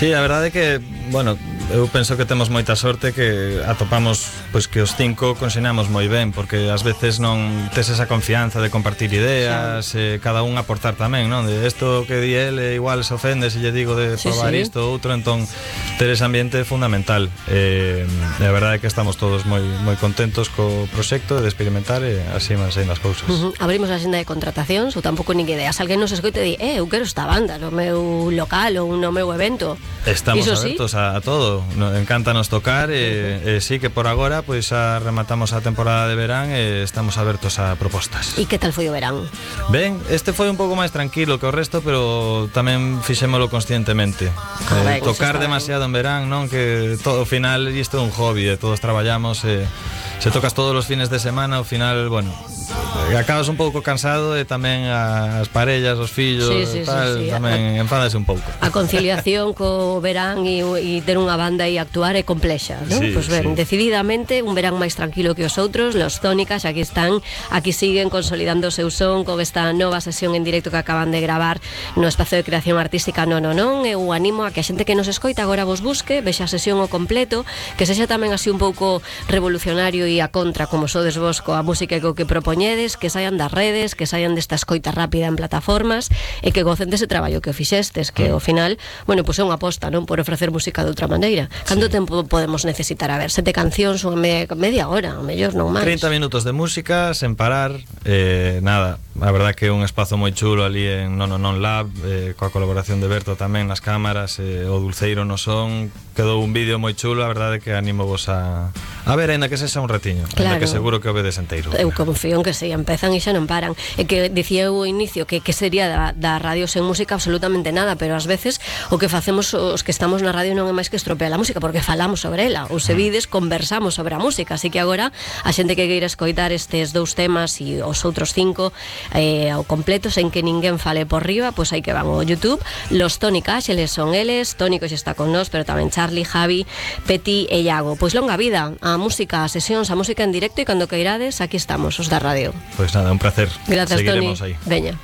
Sí, a verdade é que, bueno, eu penso que temos moita sorte que atopamos pois que os cinco consinamos moi ben, porque ás veces non tes esa confianza de compartir ideas, cada un aportar tamén, non? De isto que di ele igual se ofende se lle digo de probar isto ou outro, entón ter ese ambiente é fundamental. A verdade é que estamos todos moi contentos co proxecto de experimentar e así van sendo as cousas. Abrimos a xenda de contratacións ou tampouco nin idea. Se alguén nos escoite e di, eu quero esta banda no meu local ou no meu evento. Estamos abertos a todo. Encántanos tocar e sí que por agora pois xa rematamos a temporada de verán e estamos abertos a propostas. E que tal foi o verán? Ben, este foi un pouco máis tranquilo que o resto, pero tamén fixémolo conscientemente. Tocar demasiado en verán, non? Que todo, ao final isto é un hobby, todos traballamos se tocas todos os fines de semana, ao final, bueno, acabas un pouco cansado e tamén as parellas, os fillos, tamén enfádase un pouco. A conciliación co verán e ter unha banda e actuar é complexa, non? Pois ben, decididamente un verán máis tranquilo que os outros. Los Tónicas aquí están, aquí siguen consolidando o seu son con esta nova sesión en directo que acaban de gravar no espacio de creación artística Non. Eu animo a que a xente que nos escoita agora vos busque, vexa a sesión ao completo, que sexa tamén así un pouco revolucionario e a contra como sodes vos coa música que o que propoñedes, que saian das redes, que saian desta escoita rápida en plataformas e que gocen dese traballo que o fixestes, que ao final, bueno, pois é unha aposta, non? Por ofrecer música de outra maneira. Canto tempo podemos necesitar? A ver, 7 cancións ou media hora, ou mellor non máis. 30 minutos de música sen parar, nada, a verdad que é un espazo moi chulo ali en Non Lab, coa colaboración de Berto tamén nas cámaras, o Dulceiro no son, quedou un vídeo moi chulo, a verdade que animo vos a ver, ainda que sexa un ratiño, ainda que seguro que o vedes enteiro. Eu confío en que se empezan e xa non paran. E que dicía eu ao inicio que sería da radio sen música absolutamente nada, pero ás veces o que facemos os que estamos na radio non é máis que estropear a música, porque falamos sobre ela, ou se vides, conversamos sobre a música, así que agora a xente que queira escoitar estes 2 temas e os outros 5 ao completo, sen que ninguén fale por riba, pois hai que van ao YouTube. Los Tónicas, eles son eles, Tónico xa está con nós, pero tamén Charlie, Javi, Peti e Iago. Pois longa vida a música, a sesións, a música en directo, e cando queirades, aquí estamos, os da radio. Pois nada, un placer. Gracias, seguiremos Toni. Aí. Veña.